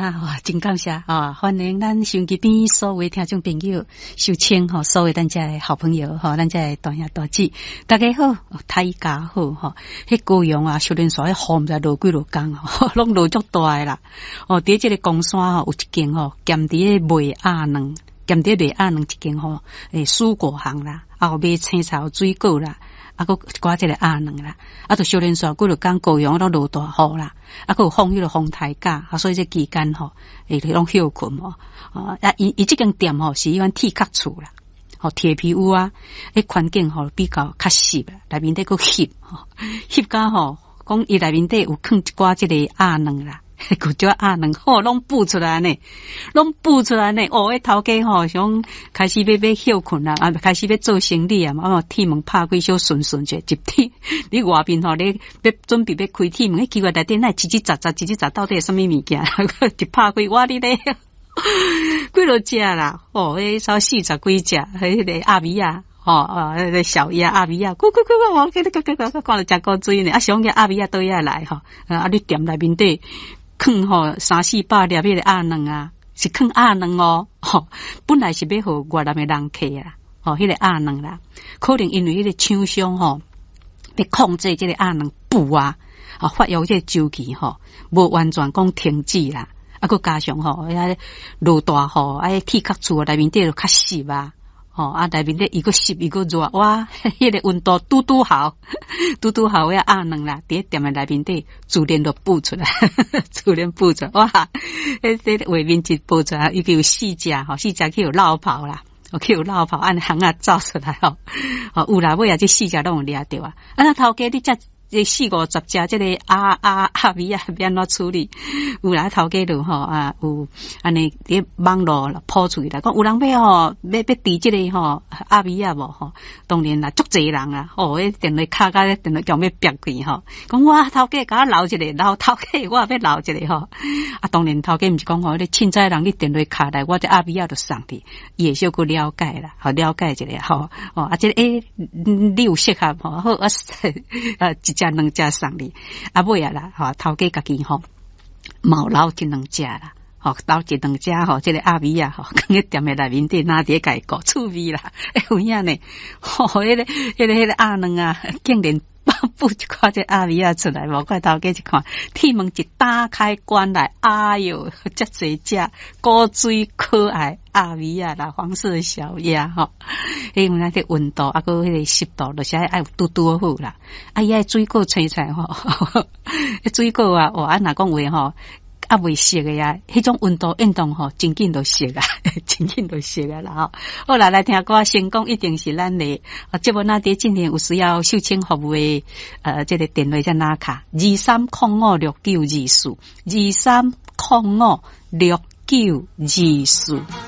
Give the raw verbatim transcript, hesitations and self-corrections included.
啊，真感謝啊！歡迎咱收音機邊所有聽眾朋友收聽吼，所有咱遮的好朋友吼，咱遮的大兄大姊，大家好，大家好吼。彼高雄啊，小連煞彼雨毋知落幾落工吼，攏落足大的啦。哦，佇這個岡山吼，有一間吼，兼佇咧賣鴨卵，兼佇賣鴨卵一間吼，欸，蔬果行啦，啊有賣青菜、水果啦。啊，閣一寡這個鴨卵啦，啊，就小連煞幾落工高雄攏落大雨啦，啊，閣有放彼個風颱假，啊，所以這期間吼，會攏歇睏吼，啊，伊伊這間店吼是彼款鐵殼厝啦，吼鐵皮屋啊，彼環境吼比較較濕啦，內面底閣翕吼，翕甲吼，講伊內面底有囥一寡這個鴨卵啦。閣隻鴨卵吼，攏孵出來呢，攏孵出來呢。哦，彼頭家吼想開始欲欲歇睏啦，啊，開始欲做生理啊，啊，鐵門拍開小順順者，一鐵你外面吼，你欲準備欲開鐵門，彼奇怪內底哪會吱吱雜雜，吱吱雜到底是啥物物件？一拍開，我哩咧，幾落隻啦，哦，彼差四十幾隻，彼個鴨米仔。吼啊！彼個小鴨鴨米仔，咕咕咕咕，我給你，給給給，看著誠古錐呢。啊，想講鴨米仔佗來吼，啊，你店內面底囥吼三四百粒彼個鴨卵啊，是囥鴨卵哦。吼，本來是欲予越南的人客啊，吼，彼個鴨卵啦，可能因為彼個廠商吼，欲控制這個鴨卵孵啊，啊，發育這個週期吼，無完全講停止啦。啊，閣加上吼，遐落大雨，啊，鐵殼厝內面底就較濕啊。吼啊，內面底伊閣濕伊閣熱，哇！彼個溫度拄拄好，拄拄好，遐鴨卵啦，佇店的內面底自然就孵出來，自然孵出來，哇！彼這畫面一播出來，已經有四隻吼，四隻去予落跑啦，去予落跑，按巷仔走出來吼，哦有啦，尾仔這四隻攏有掠著啊！啊，那頭家你遮這四五十隻這個鴨鴨鴨米仔欲按怎處理？有啦，頭家就吼啊，有按呢佇網路鋪出去啦，講有人欲吼，欲欲挃這個吼鴨米仔無吼？當然啦，足濟人啊，吼，彼電話敲甲電話強欲煏去吼，講我頭家共我留一個，留頭家我也欲留一個吼。啊，當然頭家毋是講吼，你凊彩人你電話敲來，我這鴨米仔就送你，伊會小可了解啦，吼了解一下吼。哦，啊，這個欸，你有適合吼，好啊，啊，一隻兩隻送你，啊尾仔啦，吼頭家家己吼，嘛有留一兩隻啦，吼留一兩隻吼，這個鴨米仔吼，囥佇店的內面底，若佇咧共伊顧趣味啦，欸有影呢，吼，彼個彼個彼個鴨卵啊，竟然孵一寡這鴨米仔出來，無怪頭家一看，鐵門一打開關來，哎喲，遮濟隻古錐可愛鴨米仔啦，黃色小鴨吼，彼有影這溫度啊，閣彼個濕度，就是愛愛拄拄好啦。啊，伊愛水果青菜吼，水果啊，哇，啊若講話吼，猶未熟的啊，彼種溫度運動吼，真緊就熟啊，真緊就熟啊啦吼。好啦，來聽歌，成功一定是咱的。啊，節目若佇進行有需要秀清服務的，呃，這個電話才拿卡二三空五六九二四，二三空五六九二四。